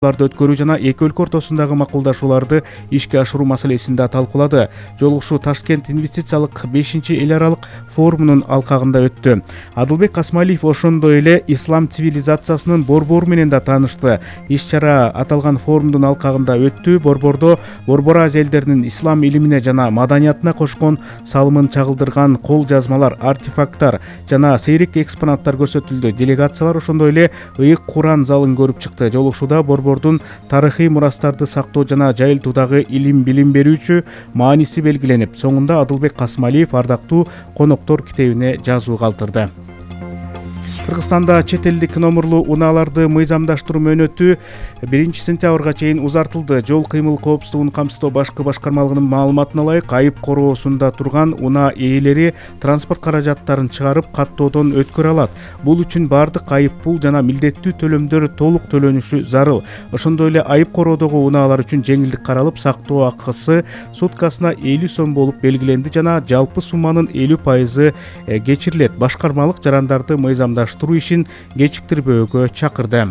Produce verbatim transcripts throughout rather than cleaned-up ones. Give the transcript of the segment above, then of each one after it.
өткөрүү жана эки өлкө ортосундагы макулдашууларды ишке ашыруу маселесин да талкуулады. Жолугушуу Ташкент инвестициялык бешинчи эл аралык форумунун алкагында өттү. Адылбек Касмалиев ошондой эле ислам цивилизациясынын борбору менен да таанышты. Иш-чара аталган форумдун алкагында өттү. Борбордо Борбор Азия элдеринин ислам илимине жана маданиятына кошкон салымын чагылдырган кол жазмалар, артефакттар жана сейрек экспонаттар көрсөтүлдү. Делегациялар ошондой эле ыйык Куран залын көрүп чыкты. Жолугушууда борбор тарыхый мурастарды сактоо жана жайылтуудагы илим билим берүүчү мааниси белгиленип, соңунда Адылбек Касмалиев ардактуу коноктор китебине жазуу калтырды. Кыргызстанда чет элдик номурлуу унааларды мыйзамдаштыруу мөөнөтү биринчи сентябрга чейин узартылды. Жол кыймыл коопсуздугун камсыздоо башкы башкармалыгынын маалыматына ылайык, айып короосунда турган унаа ээлери транспорт каражаттарын чыгарып каттоодон өткөрө алат. Бул үчүн бардык айып пул жана милдеттүү төлөмдөр толук төлөнүшү зарыл. Ошондой эле айып короодогу унаалар үчүн жеңилдик каралып, сактоо акысы суткасына элүү сом болуп белгиленди жана жалпы сумманын элүү пайызы кечирилет. Башкармалык жарандарды мыйзамдаштыруу ишин кечиктирбөөгө чакырды.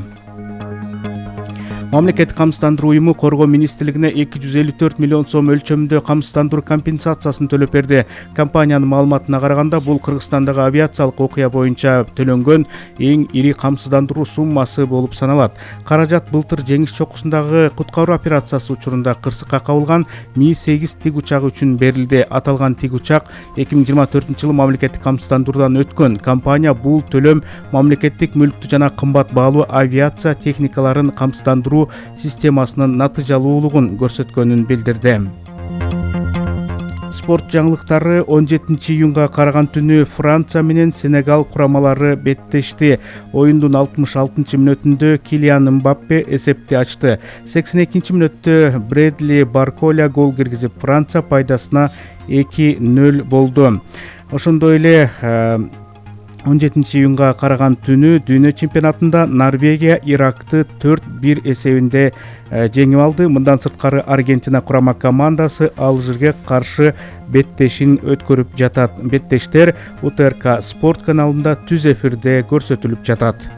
Мамлекеттик камсыздандыруу уюму Коргоо министрлигине эки жүз элүү төрт миллион сом өлчөмүндө камсыздандыруу компенсациясын төлөп берди. Компаниянын маалыматына караганда, бул Кыргызстандагы авиациялык окуя боюнча төлөнгөн эң ири камсыздандыруу суммасы болуп саналат. Каражат былтыр Жеңиш чокусундагы куткаруу операциясы учурунда кырсыкка кабылган Ми сегиз тиг учагы үчүн берилди. Аталган тиг учак эки миң жыйырма төртүнчү жылы мамлекеттик камсыздандыруудан өткөн. Компания бул төлөм мамлекеттик мүлктү жана кымбат баалуу авиация техникаларын камсыздандыруу системасынын натыйжалуулугун көрсөткөнүн билдирди. Спорт жаңылыктары он жетинчи июнга караган түнү Франция менен Сенегал курамалары беттешти. Оюндун алтымыш алтынчы мүнөтүндө Килиан Мбаппе эсепти ачты. сексен экинчи мүнөттө Брэдли Барколя гол киргизип, Франция пайдасына эки нөл болду. Ошондой эле он жетинчи июнга караган түнү дүйнө чемпионатында Норвегия Иракты төрт бир эсебинде жеңип алды. Мындан сырткары Аргентина курама командасы Алжирге каршы беттешин өткөрүп жатат. Беттештер У Т Р К спорт каналында түз эфирде көрсөтүлүп жатат.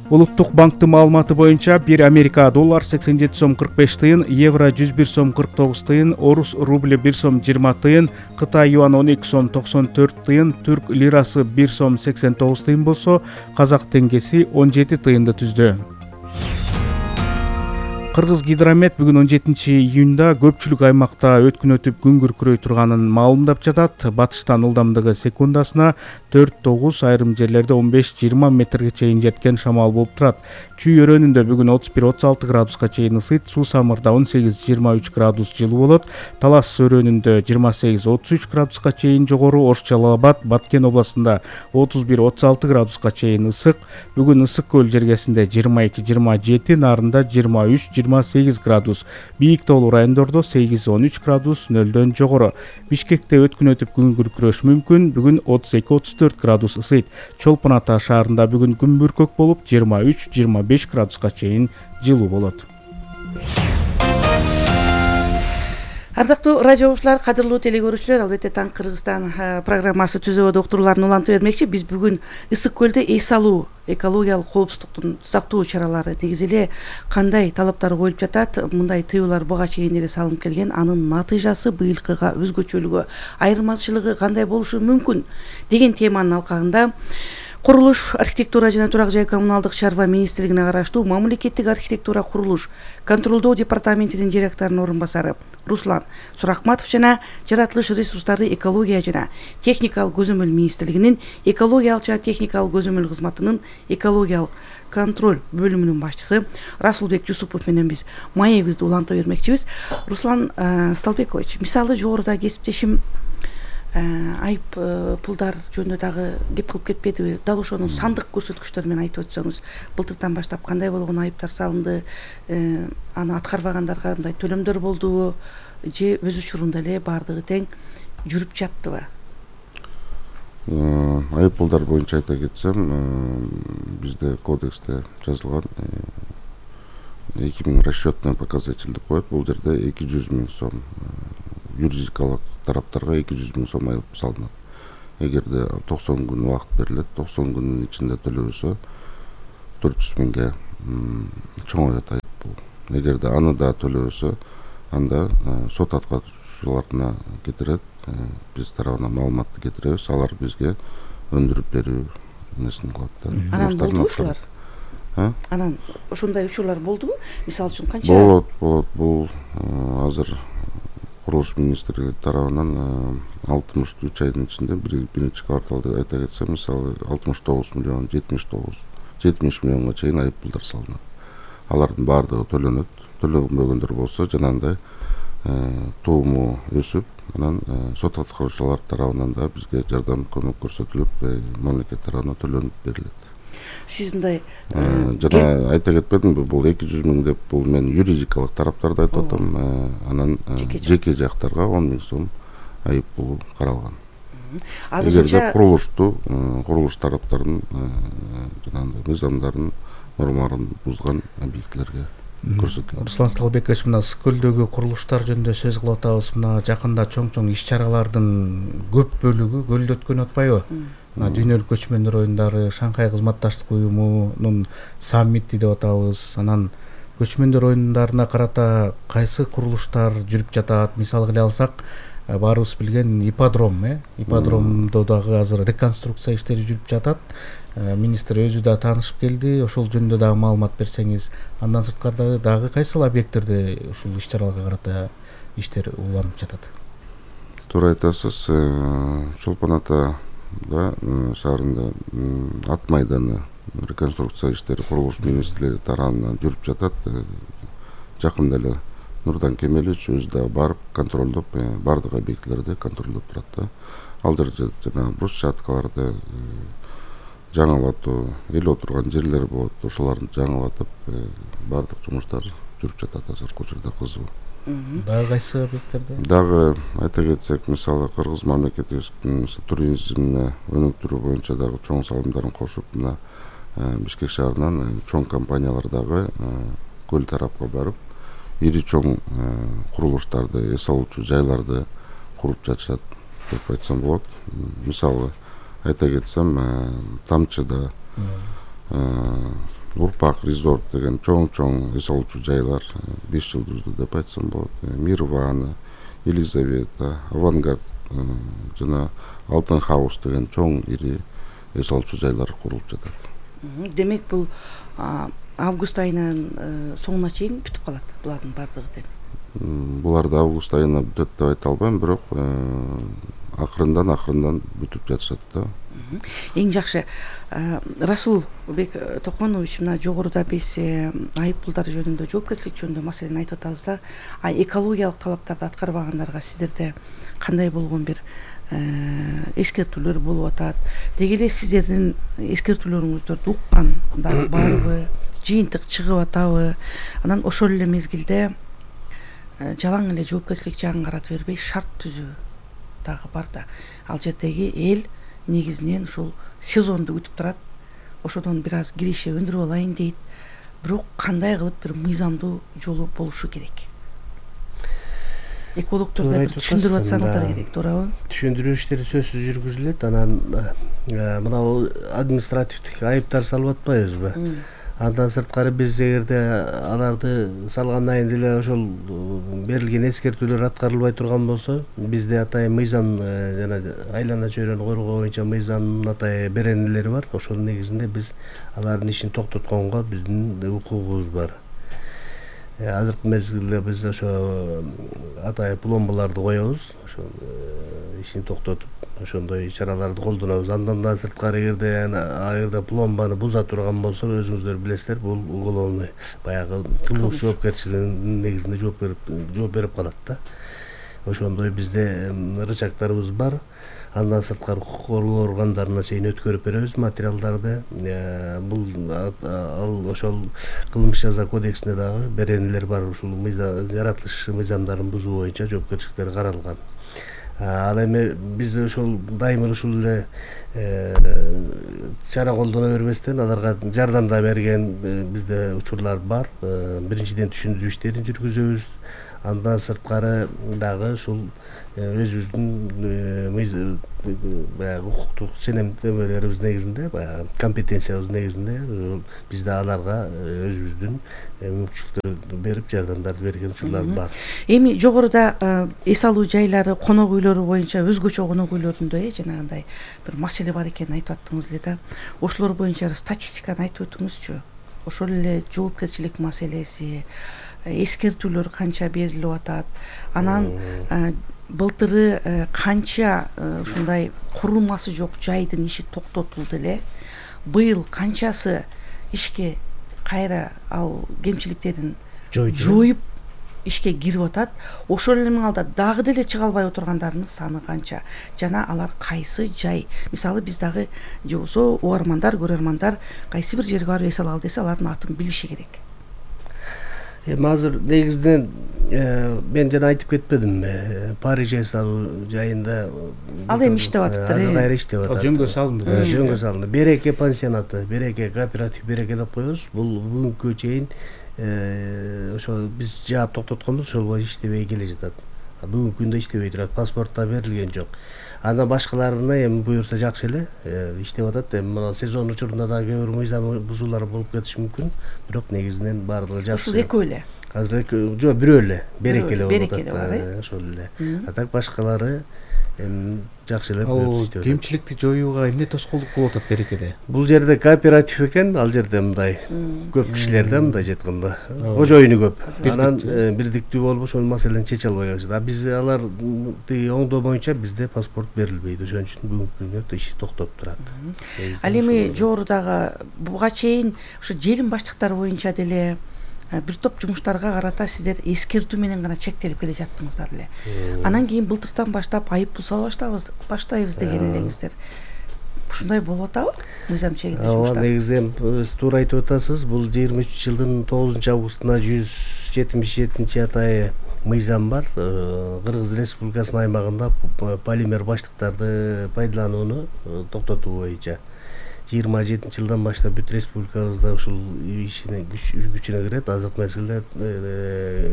Улуттук банктын маалыматы боюнча бир Америка доллар сексен жети сом кырк беш тыйын, евро жүз бир сом кырк тогуз тыйын, орус рубль бир сом жыйырма тыйын, Кытай юан он эки сом токсон төрт тыйын, түрк лирасы бир сом сексен тогуз тыйын болсо, казак теңгеси он жети тыйынды түздү. Кыргыз гидромет бүгүн он жетинчи июнда көпчүлүк аймакта өткүн өтүп күн күркүрөй турганын маалымдап жатат. Батыштан ылдамдыгы секундасына төрт тогуз, айрым жерлерде он беш жыйырма метрге чейин жеткен шамал болуп турат. Чүй өрөөнүндө бүгүн отуз бир отуз алты градуска чейин ысыйт, Суу Самырда он сегиз жыйырма үч градус жылуу болот. Талас өрөөнүндө жыйырма сегиз отуз үч градуска чейин жогору, Ош Жалал Абад, Баткен областында отуз бир отуз алты градуска чейин ысык. Бүгүн Ысык көл жергесинде жыйырма эки жыйырма жети, Нарында жыйырма үч жыйырма сегиз градус, бийик тоолуу райондордо сегиз он үч градус нөлдөн жогору. Бишкекте өткүн өтүп күн күркүрөш мүмкүн. Бүгүн отуз эки отуз төрт градус ысыйт. Чолпон Ата шаарында бүгүн күн бүркөк болуп, жыйырма үч жыйырма беш градуска чейин жылуу болот. Ардактуу радио угуучулар, кадырлуу теле көрүүчүлөр, албетте Таң Кыргызстан программасы түзөө доктурларын улантып бермекчи. Биз бүгүн Ысык көлдө эс алуу, экологиялык коопсуздуктун сактоо чаралары негизи эле кандай талаптар коюлуп жатат, мындай тыюулар буга чейин эле салынып келген, анын натыйжасы быйылкыга өзгөчөлүгү, айырмачылыгы кандай болушу мүмкүн деген теманын алкагында Курулуш, архитектура жана турак жай коммуналдык чарба министрлигине караштуу мамлекеттик архитектура курулуш контролдоо департаментинин директорунун орун басары Руслан Сурахматов жана жаратылыш ресурстары, экология жана техникалык көзөмөл министрлигинин экологиялык жана техникалык көзөмөл кызматынын экологиялык контроль бөлүмүнүн башчысы Расулбек Жусупов менен биз маегибизди уланта бермекчибиз. Руслан Сталбекович, мисалы жогоруда кесиптешим айып пулдар жөнүндө дагы кеп кылып кетпедиби? Дал ошонун сандык көрсөткүчтөрү менен айтып өтсөңүз, былтырдан баштап кандай болгон айыптар салынды, аны аткарбагандарга мындай төлөмдөр болдубу же өз учурунда эле баардыгы тең жүрүп жаттыбы? Айып пулдар боюнча айта кетсем, бизде кодексте жазылган эки миң расчетный показатель деп коет. Бул жерде эки жүз миң сом, юридикалык тараптарга эки жүз миң сом айып салынат. Эгерде токсон күн убакыт берилет, токсон күнүн ичинде төлөбөсө төрт жүз миңге чоң айыппул. Эгерде аны да төлөбөсө, анда сот аткарчыларына кетирет. Биз тарабынан маалыматты кетиребиз, алар бизге өндүрүп берүү несин кылат да. Анан болду ушулар? Анан ошондой учурлар болдубу? Мисалы үчүн канча? Болот, болот. Бул азыр курулуш министрлиги тарабынан алтымыш үч айдын ичинде биринчи кварталда айта кетсем, мисалы алтымыш тогуз миллион, жетимиш тогуз, жетимиш миллионго чейин айыппулдар салынат. Алардын баардыгы төлөнөт. Төлөнбөгөндөр болсо, жанагындай тууму өсүп, анан сот аткаруучулар тарабынан да бизге жардам көмөк көрсөтүлүп, мамлекет тарабынан төлөнүп берилет. Сиз мындай жана айта кетпедимби, бул эки жүз миң деп, бул мен юридикалык тараптарды айтып атам. Анан жеке жактарга он миң сом айыппул каралган. Эгерде курулушту, курулуш тараптарынын жанагындай мыйзамдарын, нормаларын бузган объектилерге көрсөтүлөт. Руслан Сталбекович, мына Ысык көлдөгү курулуштар жөнүндө сөз кылып атабыз. Мына жакында чоң-чоң иш-чаралардын көп бөлүгү көлдө өткөн атпайбы? Мына дүйнөлүк көчмөндөр оюндары, Шанхай кызматташтык уюмунун саммити деп атабыз. Анан көчмөндөр оюндарына карата кайсы курулуштар жүрүп жатат? Мисалы кыле алсак, баарыбыз билген ипподром, э? Ипподромдо дагы азыр реконструкция иштери жүрүп жатат. Министр өзү да таанышып келди. Ошол жөнүндө дагы маалымат берсеңиз. Андан сырткары дагы кайсыл объекттерде ушул иш-чараларга карата иштер уланып жатат? Туура айтасыз. Чолпон Ата шаарында ат майданы реконструкция иштери курулуш министрлиги тарабынан жүрүп жатат. Жакында эле Нурдан Кемелович өзү да барып контролдоп, бардык объектилерди контролдоп турат да. Ал жерде жана брусчаткаларды жаңылатуу, эл отурган жерлер болот, ошолорду жаңылатып, бардык жумуштар жүрүп жатат азыркы учурда кызуу. Дагы кайсы объекттерде? Дагы айта кетсек, мисалы Кыргыз мамлекетибиздин туризмине өнүктүрүү боюнча дагы чоң салымдарын кошуп, мына Бишкек шаарынан чоң компаниялар дагы көл тарапка барып, ири чоң курулуштарды, эс алуучу жайларды куруп жатышат деп айтсам болот. Мисалы айта кетсем, Тамчыда Урпак резорт деген чоң-чоң эс алуучу жайлар, беш жылдыздуу деп айтсам болот. Мирвана, Елизавета, Авангард жана Алтын хаус деген чоң ири эс алуучу жайлар курулуп жатат. Демек бул август айынын соңуна чейин бүтүп калат булардын бардыгы деп. Буларды август айына бүтөт деп айта албайм, бирок акырындан акырындан бүтүп жатышат да. Эң жакшы Расулбек Токонович, мына жогоруда биз айыппулдар жөнүндө, жоопкерчилик жөнүндө маселени айтып атабыз да, экологиялык талаптарды аткарбагандарга сиздерде кандай болгон бир эскертүүлөр болуп атат? Деги эле сиздердин эскертүүлөрүңүздөрдү уккан дагы барбы? Жыйынтык чыгып атабы? Анан ошол эле мезгилде жалаң эле жоопкерчилик жагын карата бербей шарт түзүү дагы бар да. Ал жердеги эл негизинен ушул сезонду күтүп турат. Ошодон бир аз киреше өндүрүп алайын дейт. Бирок кандай кылып бир мыйзамдуу жолу болушу керек? Экологдор да бир түшүндүрүп атсаңыздар керек, туурабы? Түшүндүрүү иштери сөзсүз жүргүзүлөт. Анан мына административдик айыптар салып атпайбызбы? Андан сырткары биз эгерде аларды салгандан кийин деле ошол берилген эскертүүлөр аткарылбай турган болсо, бизде атайын мыйзам жана айлана чөйрөнү коргоо боюнча мыйзамдын атайын беренелери бар. Ошонун негизинде биз алардын ишин токтотконго биздин укугубуз бар. Азыркы мезгилде биз ошо атайын пломбаларды коебуз, ошол ишин токтотуп ошондой чараларды колдонобуз. Андан да сырткары эгерде эгерде пломбаны буза турган болсо, өзүңүздөр билесиздер, бул уголовный баягы кылмыш жоопкерчилигинин негизинде жооп берип жооп берип калат да. Ошондой бизде рычагдарыбыз бар. Андан сырткары укук коргоо органдарына чейин өткөрүп беребиз материалдарды. Бул ал ошол кылмыш жаза кодексинде дагы беренелер бар. Ушул жаратылыш мыйзамдарын бузуу боюнча жоопкерчиликтер каралган. Ал эми биз ошол дайыма ушул эле чара колдоно бербестен аларга жардам да берген бизде учурлар бар. Биринчиден түшүндүрүү иштерин жүргүзөбүз. Андан сырткары дагы ушул өзүбүздүн баягы укуктук ченемдемелерибиз негизинде, баягы компетенциябыз негизинде бизде аларга өзүбүздүн мүмкүнчүлүктөрдү берип, жардамдарды берген учурлар бар. Эми жогоруда эс алуу жайлары, конок үйлөрү боюнча өзгөчө конок үйлөрүндө э жанагындай бир маселе бар экенин айтып аттыңыз эле да. Ошолор боюнча статистиканы айтып өтүңүзчү. Ошол эле жоопкерчилик маселеси, эскертүүлөр канча берилип атат, анан былтыры канча ушундай курулмасы жок жайдын иши токтотулду эле, быйыл канчасы ишке кайра ал кемчиликтерин жоюп ишке кирип атат, ошол эле маалда дагы деле чыга албай отургандарынын саны канча жана алар кайсы жай. Мисалы биз дагы же болбосо угармандар, көрөрмандар кайсы бир жерге барып эс алалы десе, алардын атын билиши керек. Эми азыр негизинен мен жана айтып кетпедимби, Париж эс алуу жайында ал эми иштеп атыптыр. Азыр кайра иштеп атат. Ал жөнгө салынды. Жөнгө салынды. Береке пансионаты, Береке кооператив, Береке деп коебуз. Бул бүгүнкү чейин ошо биз жаап токтотконбуз, ошол боюнча иштебей келе жатат. Бүгүнкү күндө иштебей турат, паспорт да берилген жок. Андан башкаларына эми буюрса жакшы эле иштеп атат. Эми мына сезон учурунда да кээ бир мыйзам бузуулар болуп кетиши мүмкүн, бирок негизинен баардыгы жакшы. Ушул экөө эле. Азыр жок, бирөө эле, Береке эле болуп атат. Береке ошол эле. А так башкалары эми жакшы эле иштеп атат. Кемчиликти жоюуга эмне тоскоолдук болуп атат Берекеде? Бул жерде кооператив экен, ал жерде мындай көп кишилер да, мындай жетканда кожоюну көп. Анан бирдиктүү болуп ошол маселени чече албай калышат. А биз алар тиги оңдоо боюнча бизде паспорт берилбейт. Ошон үчүн бүгүнкү күндө иши токтоп турат. Ал эми жогорудагы буга чейин ошо желим баштыктары боюнча деле бир топ жумуштарга карата сиздер эскертүү менен гана чектелип келе жаттыңыздар эле. Анан кийин былтыртан баштап айып пул сала баштабыз, баштайбыз деген элеңиздер. Ушундай болуп атабы? Мыйзам чегинде жумуштар. Ооба, негизи сиз туура айтып атасыз. Бул жыйырма үчүнчү жылдын тогузунчу августуна жүз жетимиш жетинчи атайы мыйзам бар. Кыргыз Республикасынын аймагында полимер баштыктарды пайдаланууну токтотуу боюнча жыйырма жетинчи жылдан баштап бүт республикабызда ушул ишине күчүнө кирет. Азыркы мезгилде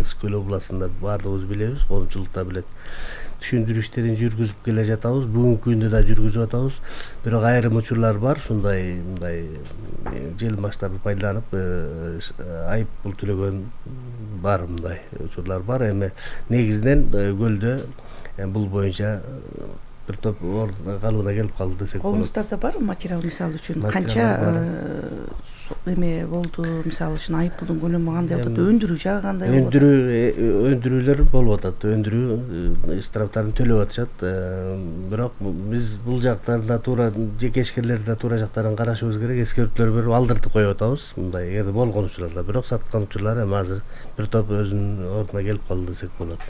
Ысык-Көл областында баардыгыбыз билебиз, коомчулукта билет. Түшүндүрүү иштерин жүргүзүп келе жатабыз. Бүгүнкү күндө да жүргүзүп атабыз. Бирок айрым учурлар бар, ушундай мындай желим баштарды пайдаланып айып пул төлөгөн бар, мындай учурлар бар. Эми негизинен көлдө бул боюнча бир топ калыбына келип калды десек болот. Колуңуздарда бар материал, мисалы үчүн канча эме болду, мисалы үчүн айып пулдун көлөмү кандай болуп атат, өндүрүү жагы кандай болуп атат? Өндүрүү өндүрүүлөр болуп атат. Өндүрүү штрафтарын төлөп атышат. Бирок биз бул жактарда туура жеке ишкерлерди да туура жактарын карашыбыз керек, эскертүүлөр берип алдыртып коюп атабыз. Мындай эгерде болгон учурларда, бирок саткан учурлар эми азыр бир топ өзүнүн ордуна келип калды десек болот.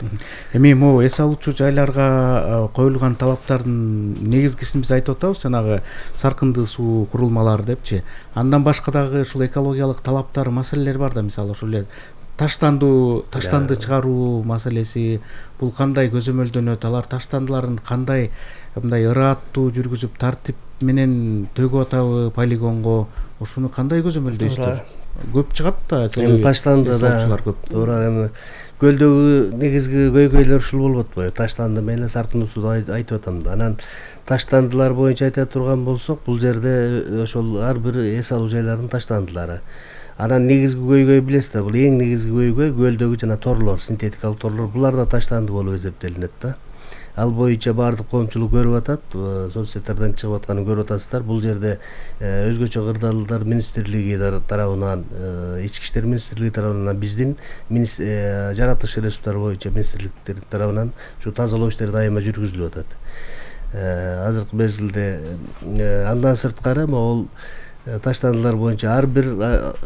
Эми могу эс алуучу жайларга коюлган талаптардын негизгисин биз айтып атабыз, жанагы саркынды суу курулмалары депчи. Андан башка дагы ушул экологиялык талаптар, маселелер бар да, мисалы ошол эле таштандуу, таштанды чыгаруу маселеси, бул кандай көзөмөлдөнөт, алар таштандыларын кандай мындай ырааттуу жүргүзүп тартип менен төгүп атабы полигонго, ошону кандай көзөмөлдөйсүздөр? Көп чыгат да, эми таштанды да көп. Туура, эми көлдөгү негизги көйгөйлөр ушул болуп атпайбы? Таштанды менен саркындуу сууду айтып атам да. Анан таштандылар боюнча айта турган болсок, бул жерде ошол ар бир эс алуу жайларынын таштандылары. Анан негизги көйгөй билесиздер, бул эң негизги көйгөй көлдөгү жана торлор, синтетикалык торлор. Булар да таштанды болуп эсептелинет да. Ал боюнча баардык коомчулук көрүп атат, соц сеттерден чыгып атканын көрүп атасыздар. Бул жерде өзгөчө кырдаалдар министрлиги тарабынан, ички иштер министрлиги тарабынан, биздин жаратылыш ресурстары боюнча министрликтер тарабынан ушу тазалоо иштери дайыма жүргүзүлүп атат. Азыркы мезгилде андан сырткары могул таштандылар боюнча ар бир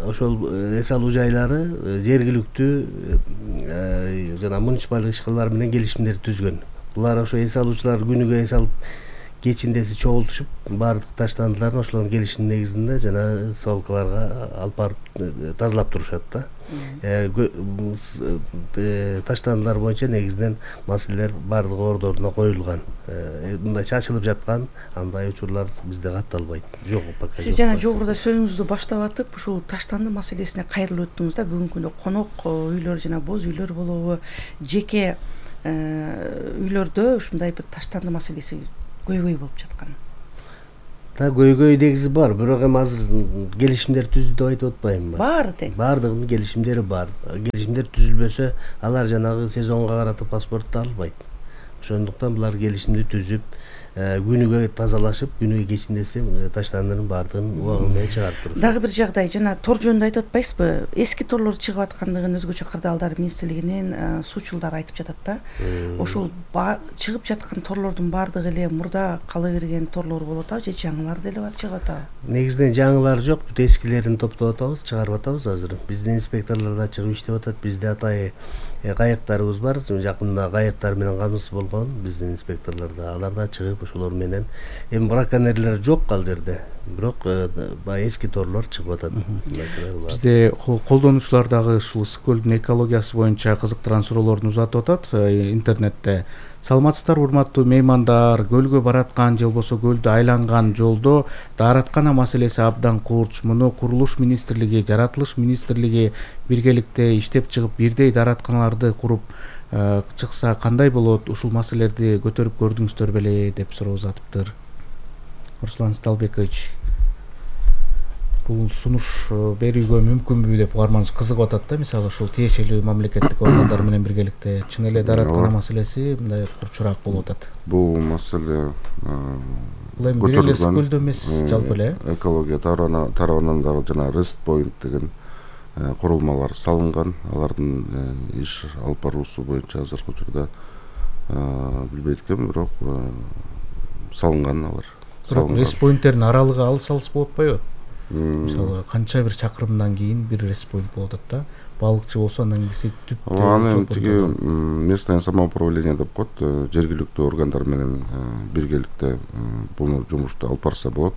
ошол эс алуу жайлары жергиликтүү жана муниципалдык ишканалар менен келишимдер түзгөн. Булар ошо эс алуучулар күнүгө эс алып кечиндеси чогултушуп, баардык таштандыларын ошолордун келишимдин негизинде жана свалкаларга алып барып тазалап турушат да. таштандылар боюнча негизинен маселелер баардыгы ордоруна коюлган. Мындай чачылып жаткан андай учурлар бизде катталбайт. Жок, пока. Сиз жана жогоруда сөзүңүздү баштап атып, ушул таштанды маселесине кайрылып өттүңүз да. Бүгүнкү күндө конок үйлөр жана боз үйлөр болобу, жеке үйлөрдө ушундай бир таштанды маселеси көйгөй болуп жаткан. Да, көйгөй негизи бар, бирок эми азыр келишимдер түздү деп айтып атпаймынбы? Баары тең. Баардыгынын келишимдери бар. Келишимдер түзүлбөсө, алар жанагы сезонго карата паспортту албайт. Ошондуктан булар келишимди түзүп, күнүгө тазалашып, күнүгө кечиндесе таштандынын баардыгын убагы менен чыгарып турушат. Дагы бир жагдай, жана тор жөнүндө айтып атпайсызбы? Эски торлор чыгып аткандыгын өзгөчө кырдаалдар министрлигинин суучулдары айтып жатат да. Ошол чыгып жаткан торлордун баардыгы эле мурда кала берген торлор болуп атабы, же жаңылар деле бар чыгып атабы? Негизинен жаңылар жок, бүт эскилерин топтоп атабыз, чыгарып атабыз азыр. Биздин инспекторлор да чыгып иштеп атат. Бизде атайы кайыктарыбыз бар. Жакында кайыктар менен камсыз болгон биздин инспекторлордо. Алар да чыгып ошолор менен, эми браконьерлер жок ал жерде, бирок баягы эски торлор чыгып атат. Бизде колдонуучулар дагы ушул Ысык көлдүн экологиясы боюнча кызыктырган суроолорун узатып атат интернетте. Саламатсыздар урматтуу меймандар, көлгө бараткан же болбосо көлдү айланган жолдо даараткана маселеси абдан курч. Муну курулуш министрлиги, жаратылыш министрлиги биргеликте иштеп чыгып, бирдей дааратканаларды куруп чыкса кандай болот? Ушул маселелерди көтөрүп көрдүңүздөр беле деп суроо узатыптыр. Руслан Сталбекович, бул сунуш берүүгө мүмкүнбү деп угарманыбыз кызыгып атат да. Мисалы ушул тиешелүү мамлекеттик органдар менен биргеликте чын эле даараткана маселеси мындай курчураак болуп атат. Бул маселе бул эми бир эле Ысык көлдө эмес, жалпы эле экология тарабынан дагы жана Rest Point деген курулмалар салынган. Алардын иш алып баруусу боюнча азыркы учурда билбейт экенмин, бирок салынган алар. Бирок Rest Point'тердин аралыгы алыс алыс болуп атпайбы? Мисалы канча бир чакырымдан кийин бир Rest Point болуп атат да. Балыкчы болсо андан кийин түптө. Аны тиги местное самоуправление деп коет, жергиликтүү органдар менен биргеликте буну жумушту алып барса болот.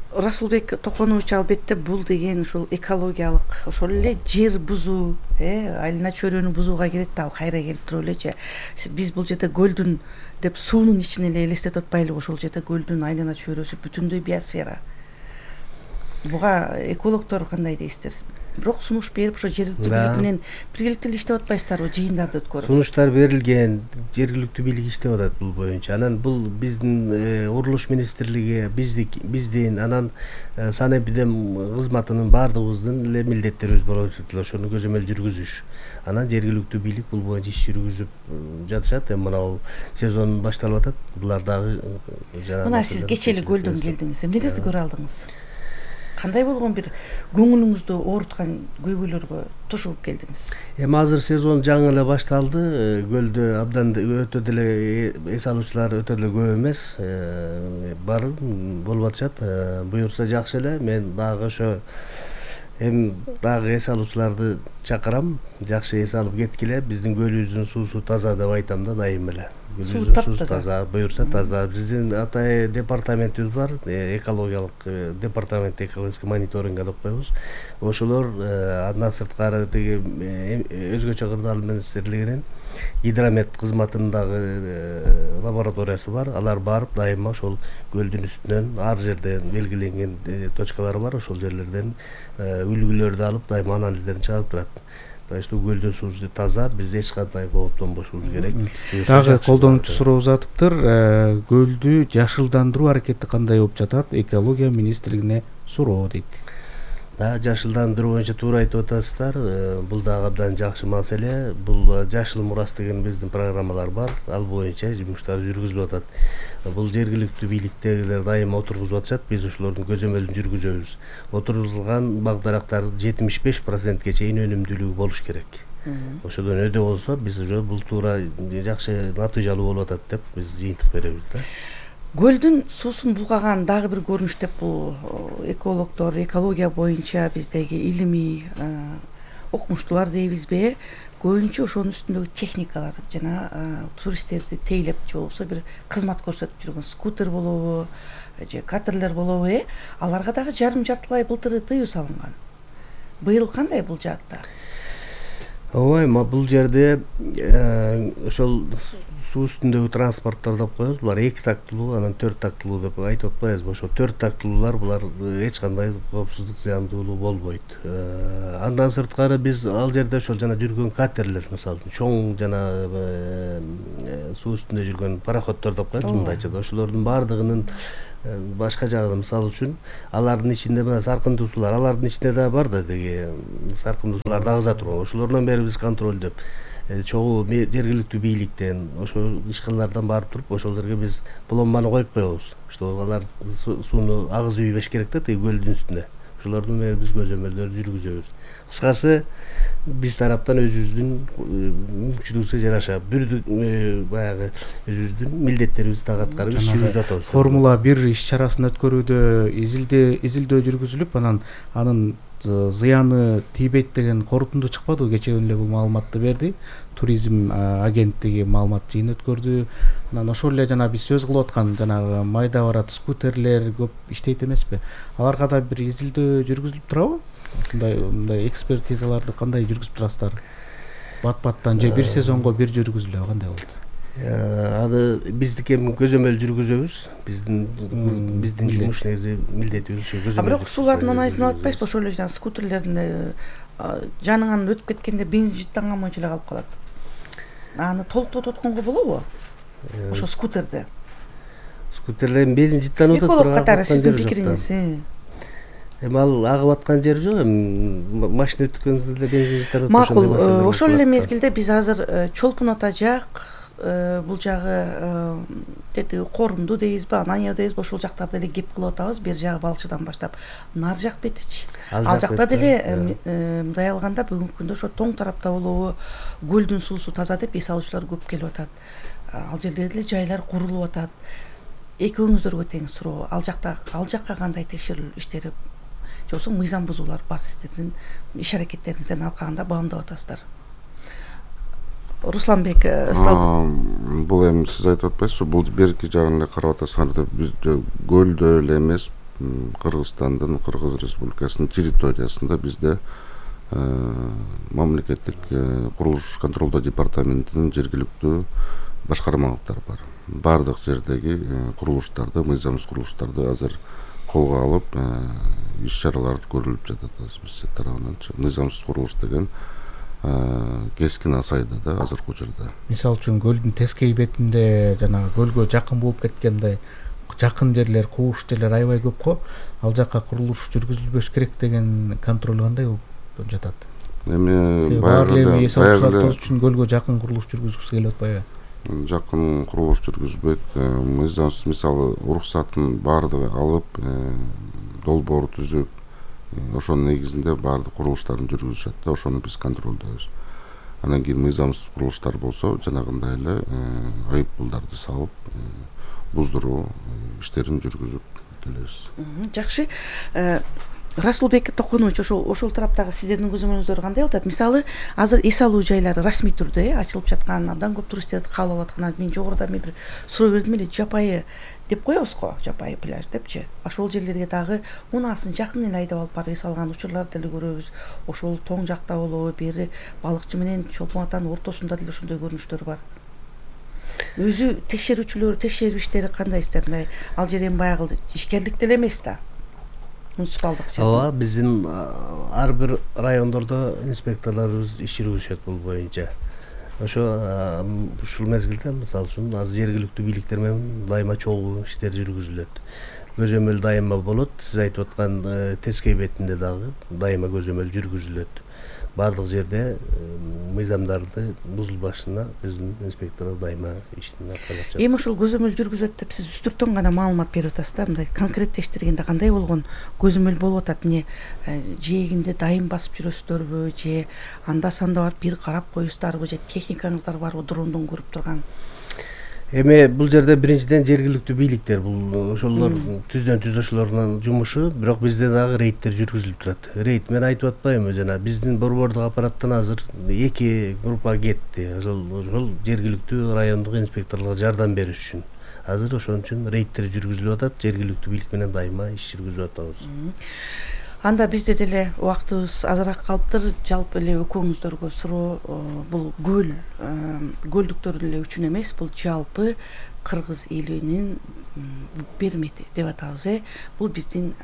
Расулбек Токонович, албетте бул деген ушул экологиялык, ошол эле жер бузуу, айлана чөйрөнү бузууга кирет да, ал кайра келип туруп элечи. Биз бул жерде көлдүн деп суунун ичин эле элестетип атпайлыбы? Ошол жерде көлдүн айлана чөйрөсү бүтүндөй биосфера. Буга экологдор кандай дейсиздер? Бирок сунуш берип, ошо жергиликтүү бийлик менен биргеликте эле иштеп атпайсыздарбы, жыйындарды өткөрүп? Сунуштар берилген, жергиликтүү бийлик иштеп атат бул боюнча. Анан бул биздин курулуш министрлиги, биздин, анан санэпидем кызматынын баардыгыбыздын эле милдеттерибиз болуп атат. Ошону көзөмөл жүргүзүш. Анан жергиликтүү бийлик бул боюнча иш жүргүзүп жатышат. Эми мына сезон башталып атат. Булар дагы жана мына сиз кечээ эле көлдөн келдиңиз. Эмнелерди көрө алдыңыз? Кандай болгон бир көңүлүңүздү ооруткан көйгөйлөргө тушуп келдиңиз? Эми азыр сезон жаңы эле башталды. Көлдө абдан өтө деле эс алуучулар өтө деле көп эмес. Бар болуп атышат. Буюрса жакшы эле. Мен дагы ошо эми дагы эс алуучуларды чакырам. Жакшы эс алып кеткиле. Биздин көлүбүздүн суусу таза деп айтам да, дайым эле. Суу таза, буюрса таза. Биздин атай департаментибиз бар, экологиялык департамент, экологический мониторинг деп коебуз. Ошолор андан сырткары тиги өзгөчө кырдаал министрлигинин гидромет кызматындагы лабораториясы бар. Алар барып дайыма ошол көлдүн үстүнөн ар жерден белгиленген точкалары бар. Ошол жерлерден үлгүлөрдү алып дайыма анализдерин чыгарып турат. Так что көлдүн суусу таза, биз эч кандай кооптонбошубуз керек. Дагы колдонуучу суроо узатыптыр. Көлдү жашылдандыруу аракети кандай болуп жатат? Экология министрлигине суроо дейт. Да, жашылдандыруу боюнча туура айтып атасыздар. Бул дагы абдан жакшы маселе. Бул жашыл мурас деген биздин программалар бар. Ал боюнча жумуштар жүргүзүлүп атат. Бул жергиликтүү бийликтегилер дайыма отургузуп атышат. Биз ошолордун көзөмөлүн жүргүзөбүз. Отургузулган бак-дарактар жетимиш беш процентке чейин өнүмдүүлүгү болуш керек. Ошодон өдө болсо биз уже бул туура жакшы натыйжалуу болуп атат деп биз жыйынтык беребиз да. Көлдүн суусун булгаган дагы бир көрүнүш деп бул экологдор, экология боюнча биздеги илимий окумуштуулар дейбизби, көбүнчө ошонун үстүндөгү техникалар жана туристтерди тейлеп же болбосо бир кызмат көрсөтүп жүргөн скутер болобу же катерлер болобу, аларга дагы жарым жартылай былтыр тыюу салынган. быйыл кандай бул жаатта? ооба эми бул жерде ошол суу үстүндөгү транспорттор деп коебуз, булар эки тактылуу, анан төрт тактылуу деп айтып атпайбызбы? Ошо төрт тактылуулар булар эч кандай коопсуздук зыяндуулуу болбойт. Андан сырткары биз ал жерде ошол жана жүргөн катерлер, мисалы үчүн чоң жана суу үстүндө жүргөн пароходдор деп коебуз мындайча да, ошолордун баардыгынын башка жагы, мисалы үчүн алардын ичинде мына саркындуу суулар, алардын ичинде да бар да деги саркындуу сууларды агыза турган. Ошолордон бери биз контролдоп чогуу жергиликтүү бийликтен ошол ишканалардан барып туруп ошол жерге биз пломбаны коюп коебуз, что алар сууну агызып ийбеш керек да, тиги көлдүн үстүнө. Ошолордон бери биз көзөмөлдөрдү жүргүзөбүз. Кыскасы биз тараптан өзүбүздүн мүмкүнчүлүгүбүзгө жараша бүрдүк баягы өзүбүздүн милдеттерибизди так аткарып иш жүргүзүп атабыз. Формула бир иш чарасын өткөрүүдө изилдөө изилдөө жүргүзүлүп, анан анын зыяны тийбейт деген корутунду чыкпадыбы? Кечээ күнү эле бул маалыматты берди. Туризм агенттиги маалымат жыйын өткөрдү. Анан ошол эле жана биз сөз кылып аткан жанагы майда барат скутерлер көп иштейт эмеспи? Аларга да бир изилдөө жүргүзүлүп турабы? Мындай мындай экспертизаларды кандай жүргүзүп турасыздар? Бат-баттан же бир сезонго бир жүргүзүлөбү, кандай болот? Аны биздики эми көзөмөл жүргүзөбүз. Биздин биздин жумуш негизи милдетибиз ушу көзөмөл. А бирок суулардын анализин алып атпайсызбы? Ошол эле жана скутерлердин жаныңан өтүп кеткенде бензин жыттанган боюнча эле калып калат. Аны толуктотуп атканга болобу? Ошо скутерде. Скутерлердин бензин жыттанып атат. Эколог катары сиздин пикириңиз? Эми ал агып аткан жери жок, эми машина өткөндө бензин жыттанып атат. Макул, ошол эле мезгилде биз азыр Чолпон Ата жак, бул жагы тетиги Корунду дейбизби, Анания дейбизби, ошол жактарда эле кеп кылып атабыз. Бер жагы Балчыдан баштап нар жак бетичи. Ал жакта деле мындай алганда бүгүнкү күндө ошо тоң тарапта болобу көлдүн суусу таза деп эс алуучулар көп келип атат. Ал жерлерде деле жайлар курулуп атат. Экөөңүздөргө тең суроо, ал жакта ал жакка кандай текшерүү иштери же болбосо мыйзам бузуулар бар сиздердин иш аракеттериңизден алкагында баамдап атасыздар? Русланбек, бул эми сиз айтып атпайсызбы, бул берки жагын эле карап атасыңар деп, биз көлдө эле эмес, Кыргызстандын, Кыргыз Республикасынын территориясында бизде мамлекеттик курулуш контролдоо департаментинин жергиликтүү башкармалыктары бар. Бардык жердеги курулуштарды, мыйзамсыз курулуштарды азыр колго алып, иш чараларды көрүлүп жатат биз тарабынан. Мыйзамсыз курулуш деген кескин азайды да азыркы учурда. Мисалы үчүн көлдүн тескей бетинде жана көлгө жакын болуп кеткенде жакын жерлер, кууш жерлер аябай көп го. Ал жакка курулуш жүргүзүлбөш керек деген контроль кандай болуп жатат? Эми баягы эс алуучулар тоз үчүн көлгө жакын курулуш жүргүзгүсү келип атпайбы? Жакын курулуш жүргүзбөйт. Мыйзамсыз, мисалы, уруксатын баардыгы алып, долбоор түзүп, ошонун негизинде баардык курулуштарын жүргүзүшөт да, ошону биз контролдойбуз. Анан кийин мыйзамсыз курулуштар болсо, жанагындай эле айыппулдарды салып, буздуруу иштерин жүргүзүп келебиз. Жакшы. Расулбек Токонович, ошол ошол тараптагы сиздердин көзөмөлүңүздөр кандай атат? Мисалы, азыр эс алуу жайлары расмий түрдө ачылып жаткан, абдан көп туристтерди кабыл алып аткан. Мен жогоруда мен бир суроо бердим эле, жапайы деп коебуз го, жапайы пляж депчи. Ошол жерлерге дагы унаасын жакын эле айдап алып барып эс алган учурларды деле көрөбүз. Ошол тоң жакта болобу, бери балыкчы менен Чолпон Атанын ортосунда деле ошондой көрүнүштөр бар. Өзү текшерүүчүлөр, текшерүү иштери кандай сиздерде? Ал жер эми баягы ишкерлик деле эмес да. Муниципалдык жерде. Ооба, биздин ар бир райондордо инспекторлорубуз иш жүргүзүшөт бул боюнча. Ошо ушул мезгилде, мисалы үчүн, азыр жергиликтүү бийликтер менен дайыма чогуу иштер жүргүзүлөт. Көзөмөл дайыма болот. Сиз айтып аткан тескей бетинде дагы дайыма көзөмөл жүргүзүлөт. Бардык жерде мыйзамдарды бузулбашына биздин инспекторлор дайыма иштин аткарып жатат. Эми ошол көзөмөл жүргүзөт деп сиз үстүртөн гана маалымат берип атасыз да, мындай конкреттештиргенде кандай болгон көзөмөл болуп атат? Эмне жээгинде дайым басып жүрөсүздөрбү, же анда санда барып бир карап коесуздарбы, же техникаңыздар барбы дрондон көрүп турган? Эми бул жерде биринчиден жергиликтүү бийликтер, бул ошолор түздөн түз ошолордун жумушу, бирок бизде дагы рейдтер жүргүзүлүп турат. Рейд мен айтып атпаймынбы, жана биздин борбордук аппараттан азыр эки группа кетти. Ошол ошол жергиликтүү райондук инспекторлорго жардам бериш үчүн. Азыр ошон үчүн рейдтер жүргүзүлүп атат, жергиликтүү бийлик менен дайыма иш жүргүзүп атабыз. Анда бизде деле убактыбыз азыраак калыптыр. Жалпы эле экөөңүздөргө суроо, бул көл көлдүктөрдүн эле үчүн эмес, бул жалпы кыргыз элинин бермети деп атабыз. э Бул биздин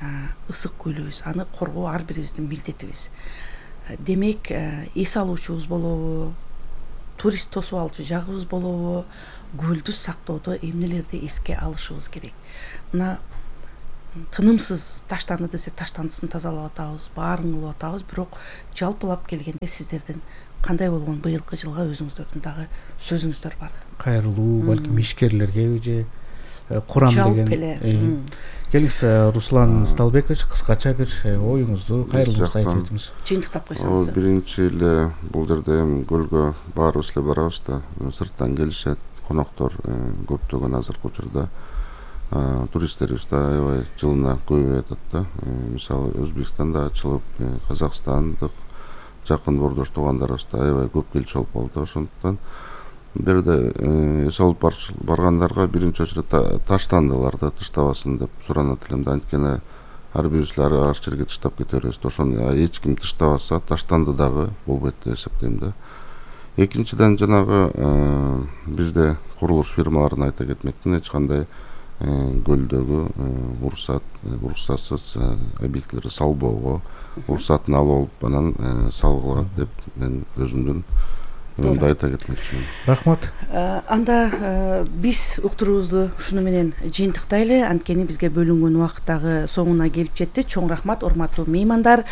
ысык көлүбүз, аны коргоо ар бирибиздин милдетибиз. Демек, эс алуучубуз болобу, турист тосуп алчу жагыбыз болобу, көлдү сактоодо эмнелерди эске алышыбыз керек. Мына тынымсыз таштанды десе таштандысын тазалап атабыз, баарын кылып атабыз, бирок жалпылап келгенде сиздердин кандай болгон быйылкы жылга өзүңүздөрдүн дагы сөзүңүздөр бар? Кайрылуу, балким ишкерлерге же курам деген. Жалпы эле. Келиңиз, Руслан Сталбекович, кыскача бир оюңузду, кайрылуңузду айтып өтүңүз. Жыйынтыктап койсоңуз. Биринчи эле бул жерде эми көлгө баарыбыз эле барабыз да, сырттан келишет коноктор көптөгөн азыркы учурда. Туристтерибиз да аябай жылына көбөйүп атат да. Мисалы Өзбекстанда ачылып, Казакстандык жакын бордош туугандарыбыз да аябай көп келчү болуп калды. Ошондуктан бир жерде эс алып баргандарга биринчи очередде таштандыларды таштабасын деп суранат элем да. Анткени ар бирибиз ар жерге таштап кете беребиз. Ошону эч ким таштабаса, таштанды дагы болбойт деп эсептейм да. Экинчиден жанагы бизде курулуш фирмаларын айта кетмекмин, эч кандай көлдөгү уруксат уруксатсыз объектилерди салбоого уруксатын алып алып анан салгыла деп мен өзүмдүн мындай айта кетмекчимин. Рахмат. Анда биз уктуруубузду ушуну менен жыйынтыктайлы. Анткени бизге бөлүнгөн убакыт дагы соңуна келип жетти. Чоң рахмат, урматтуу меймандар.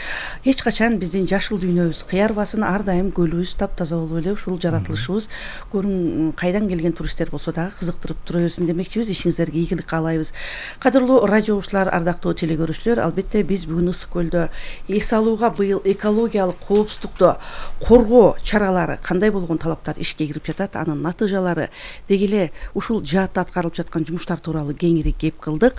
Эч качан биздин жашыл дүйнөбүз кыярбасын, ар дайым көлүбүз таптаза болуп эле ушул жаратылышыбыз көрүң кайдан келген туристтер болсо дагы кызыктырып тура берсин демекчибиз. Ишиңиздерге ийгилик каалайбыз. Кадырлуу радио угуучулар, ардактуу телекөрүүчүлөр, албетте биз бүгүн Ысык көлдө эс алууга быйыл экологиялык коопсуздукту коргоо чаралары кандай болгон талаптар ишке кирип жатат, анын натыйжалары деги эле ушул жаатта аткарылып жаткан жумуштар тууралуу кеңири кеп кылдык.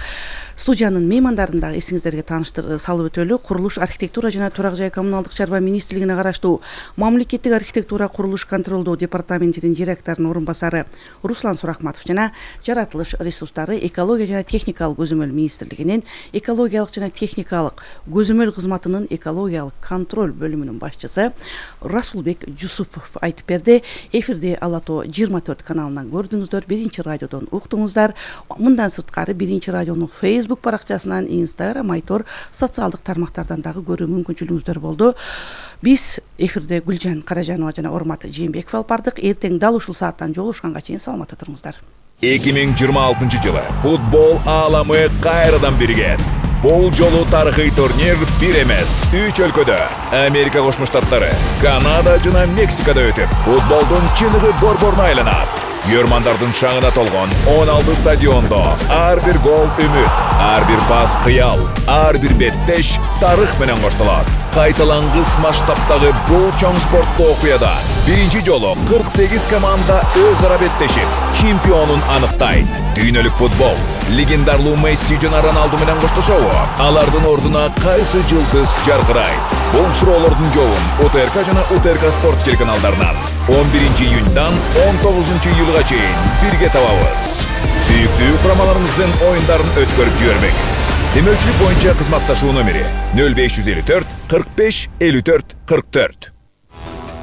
Студиянын меймандарын дагы эсиңиздерге тааныштыр салып өтөлү. Курулуш, архитектура жана турак жай коммуналдык чарба министрлигине караштуу Мамлекеттик архитектура курулуш контролдоо департаментинин директорунун орун басары Руслан Сурахматов жана Жаратылыш ресурстары, экология жана техникалык көзөмөл министрлигинин экологиялык жана техникалык көзөмөл кызматынын экологиялык контроль бөлүмүнүн башчысы Расулбек Жусупов айтып берди. Эфирди Ала Тоо жыйырма төрт каналынан көрдүңүздөр, биринчи радиодон уктуңуздар. Мындан сырткары биринчи радионун Facebook баракчасынан, Instagram, Айтор социалдык тармактардан дагы көрүү мүмкүнчүлүгүңүздөр болду. Биз эфирде Гүлжан Каражанова жана Урмат Жээнбеков алып бардык. Эртең дал ушул сааттан жолугушканга чейин саламатта туруңуздар. эки миң жыйырма алтынчы жылы футбол ааламы кайрадан биригет. Бул жолу тарыхый турнир бир эмес, үч өлкөдө Америка Кошмо Штаттары, Канада жана Мексикада өтүп, футболдун чыныгы борборуна айланат. Көрмандардын шаңына толгон он алты стадиондо ар бир гол үмүт, ар бир пас кыял, ар бир беттеш тарых менен коштолот. Кайталангыс масштабтагы бул чоң спорттуу окуяда биринчи жолу кырк сегиз команда өз ара беттешип, чемпионун аныктайт. Дүйнөлүк футбол легендарлуу Месси жана Роналду менен коштошобу? Алардын ордуна кайсы жылдыз жаркырайт? Бул суроолордун жообун УТРК жана УТРК спорт телеканалдарынан он биринчи июньдан он тогузунчу июлга чейин бирге табабыз. Сүйүктүү курамаларыбыздын оюндарын өткөрүп жибербеңиз. Демөөрчүлүк боюнча кызматташуу номери нөл беш жүз элүү төрт кырк беш элүү төрт кырк төрт.